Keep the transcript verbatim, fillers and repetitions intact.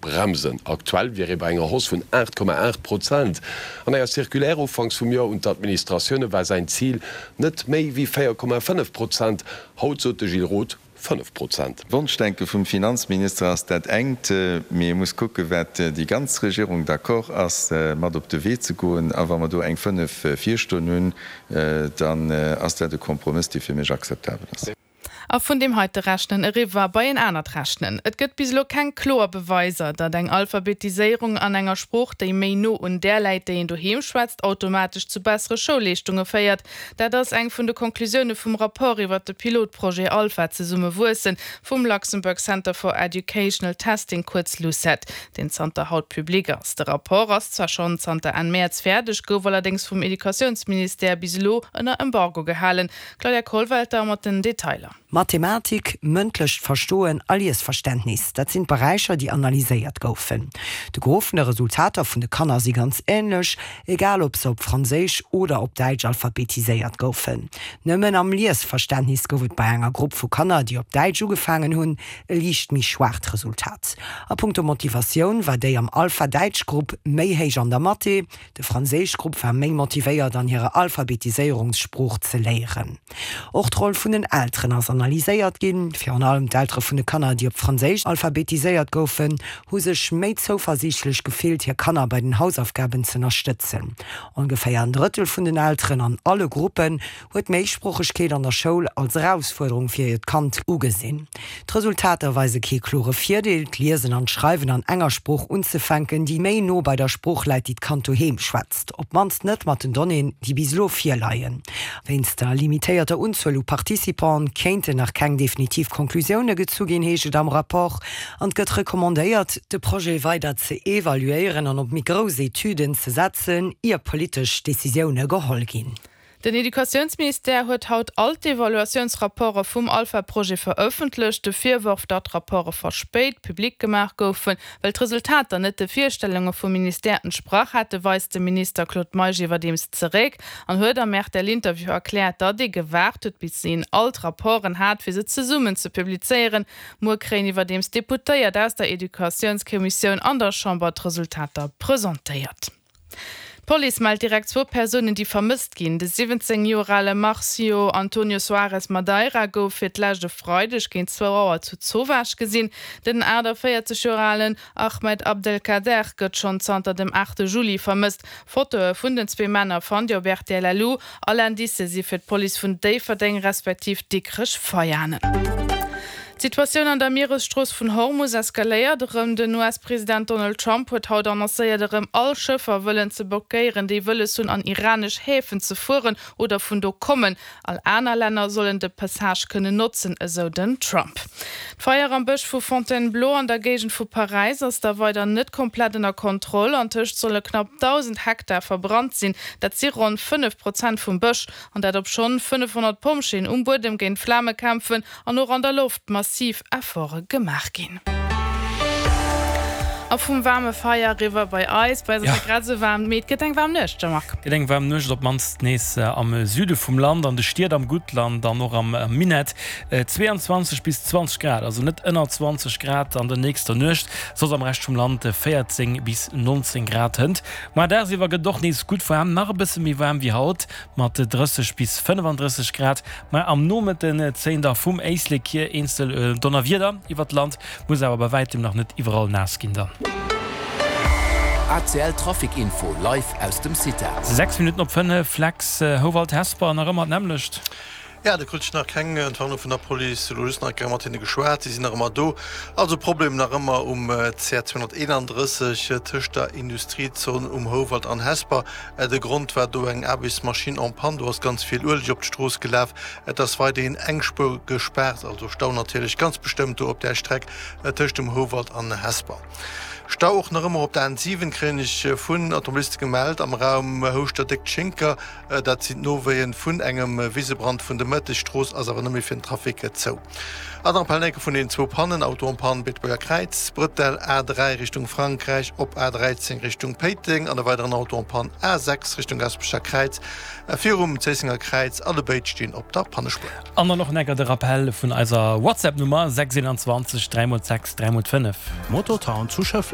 Bremsen. Aktuell wier ee bei enger Hausse vun aacht Komma aacht Prozent. An enger Circulaire ufanks vum Joer un d'Administratioune war säin Zil net méi wéi véier Komma fënnef Prozent. Haut sot de Gilles Roth fënnef Prozent. Wonschdenke vum Finanzminister ass dat engt, mee ee muss kucke wat déi ganz Regierung d'accord ass mat op de Wee ze goen. A wa mer do eng fënnef virstoen hunn, dann ass dat e Kompromëss, dee fir mech akzeptabel ass. A vun deem heite Rechnen eriwwer bei en anert Rechnen. Et gëtt bis elo keng kloer Beweiser, datt eng Alphabetiséierung an enger Sprooch, déi méi no un där läit, déi een doheem schwätzt, automatesch zu bessere Schoulleeschtunge féiert. Dat ass eng vun de Conclusioune vum Rapport iwwer de Pilotprojet Alpha Zesumme wuessen vum Luxembourg Center for Educational Testing, kuerz LUCET, deen zanter haut public ass. De Rapport ass zwar schonn zanter Enn Mäerz fäerdeg, gouf allerdéngs vum Educatiounsministère bis elo ënner Embargo gehalen. Claudia Kollwelter mat den Detailer. Mathematik, mëndlecht Verstoen a Liesverständnis, dat sinn d'Beräicher, déi analyséiert goufen. De Gros vun de Resultater vun de Kanner si ganz änlech, egal ob se op Franséisch oder op Däitsch alphabetiséiert goufen. Nëmmen am Liesverständnis gouf et bei enger Grupp vu Kanner, déi op Däitsch ugefaangen hunn, e liicht méi schwaacht Resultat. A punkto Motivatioun war déi am Alpha-Däitsch-Grupp méi héich an der Mathé, De Franséischgrupp war méi motivéiert an hire Alphabetiséierungssprooch ze léieren. Och d'Roll vun den Elteren ass analyséiert ginn. Virun allem d'Eltere vun de Kanner, déi op Franséisch alphabetiséiert goufen, hu sech méi zouversiichtlech gefillt, hir Kanner bei den Hausaufgaben z'ënnerstëtzen. Ongeféier en Drëttel vun den Elteren an alle Gruppen huet d'Méisproochegkeet an der Schoul als Erausfuerderung fir hiert Kand ugesinn. D'Resultater weise kee klore Virdeel, d'Liesen an d'Schreiwen an enger Sprooch unzefänken, déi méi no bei der Sprooch läit, déi d'Kand doheem schwätzt, op d'mannst net mat den Donnéeën, déi bis elo virleien. Wéinst der limitéierter Unzuel u Participanten kéinten nach keng definitiv Konklusioune gezu ginn, heescht et am Rapport, an et gëtt recommandéiert, de Projet weider ze evaluéieren an op méi grouss Etüden ze setzen, ier politesch Decisioune geholl ginn. Den Educatiounsministère huet haut all d'Evaluatiounsrapporte vum Alpha-Projet verëffentlecht. De Virworf, datt d'Rapporte verspéit public gemaach goufen, well d'Resultater net de Virstellunge vum Ministère entsprach hätten, weist de Minister Claude Meisch iwwerdeems zeréck an huet am R T L-Interview erkläert, datt ee gewaart huet, bis een all d'Rapporten hat, fir se zesummen ze publizéieren. Muer kréien iwwerdeems d'Deputéiert aus der Educatiounskommissioun an der Chamber d'Resultater presentéiert. D'Police mellt direkt zwou Persounen, déi vermësst ginn. De siwwenzéng Joer ale Marcio Antonio Soares Madeira gouf fir d'lescht e Freideg géint zwou Auer zu Zowaasch gesinn. Den achtaféierzeg Joer alen Ahmed Abdelkader gëtt schonn zanter dem aachte Juli vermësst. Fotoe vun den zwee Männer fannt Dir op rtl.lu. All Indicë si fir d'Police vun Déifferdeng respektiv Dikrech Veianen. D'Situatioun an der Mieresstrooss vun Hormus eskaléiert erëm. Den U S-President Donald Trump huet haut annoncéiert, erëm all Schëffer wëllen ze blockéieren, déi wëlles hunn an iranesch Häfen ze fueren oder vun do kommen. All aner Länner sollen de Passage kënnen notzen, esou den Trump. D'Feier am Bësch vu Fontainebleau an der Géigend vu Paräis ass da weider net komplett ënner Kontroll. Antëscht solle knapp dausend Hektar verbrannt sinn, dat si ronn fënnef Prozent vum Bësch, an dat obschonn fënnefhonnert Pompjeeën um Buedem géint d'Flame kämpfen an och an der Loft massiv Efforte gemaach ginn. A vum waarme Feier eriwwer bei eis, bei eis ass et grad esou waarm, mee et gëtt eng waarm Nuecht, Jean-Marc. Gëtt eng waarm Nuecht, op d'mannst nees am Süde vum Land, an de Stied am Guttland an och am Minett. zwee an zwanzeg bis zwanzeg Grad, also net ënner zwanzeg Grad an der nächster Nuecht, soss am Rescht vum Land véierzéng bis nonzéng Grad hënt. Muer dagsiwwer gëtt et och nees gutt waarm, nach e bësse méi waarm wéi haut mat drësseg bis fënnefandrësseg Grad, ma am Nomëtten zéien da vum Éislek hier eenzel Donnerwieder iwwert d'Land, muss awer bei wäitem nach net iwwerall naass ginn dann. A C L Trafic Info live aus dem CITA. Sechs Minutten op fënnef, Lex Howald Hesper nach ëmmer d'nämmlecht. Jo, do krut ech nach keng Entwarnung vun der Police, elo just nach eng Kéier mat hinne geschwat, si sinn nach ëmmer do. Also Problem nach ëmmer um C R zweehonnerteenandrësseg tëscht der Industriezon um Houwald an Hesper. De Grond war do eng Aarbechtsmaschinn en panne, do ass ganz vill Ueleg op d'Strooss gelaf. Et ass weiderhin eng Spuer gespaart, also Stau natierlech ganz bestëmmt do op där Streck tëscht dem Houwald an Hesper. Stau och nach ëmmer op der N siwen, kréien ech vun Automobiliste gemellt, am Raum Houschter-Déckt-Schinker. Dat sinn d'Nowéien vun engem Wisebrand vun de Mëtteg. D'Strooss ass awer net méi fir den Trafic zou. An dann Appell vun den zwou Pannen, Auto en panne Beetebuerger Kräiz, Brëttel A dräi Richtung Frankräich op A dräizéng Richtung Péiteng an e weideren Auto en panne A sechs Richtung Gasperecher Kräiz virum Zéissenger Kräiz. Allebéid stinn op der Pannespuer. An dann och enker de Rappell vun eiser WhatsApp-Nummer, sechs eenanzwanzeg dräi mol sechs dräi mol fënnef. Motortown zu Schëffleng.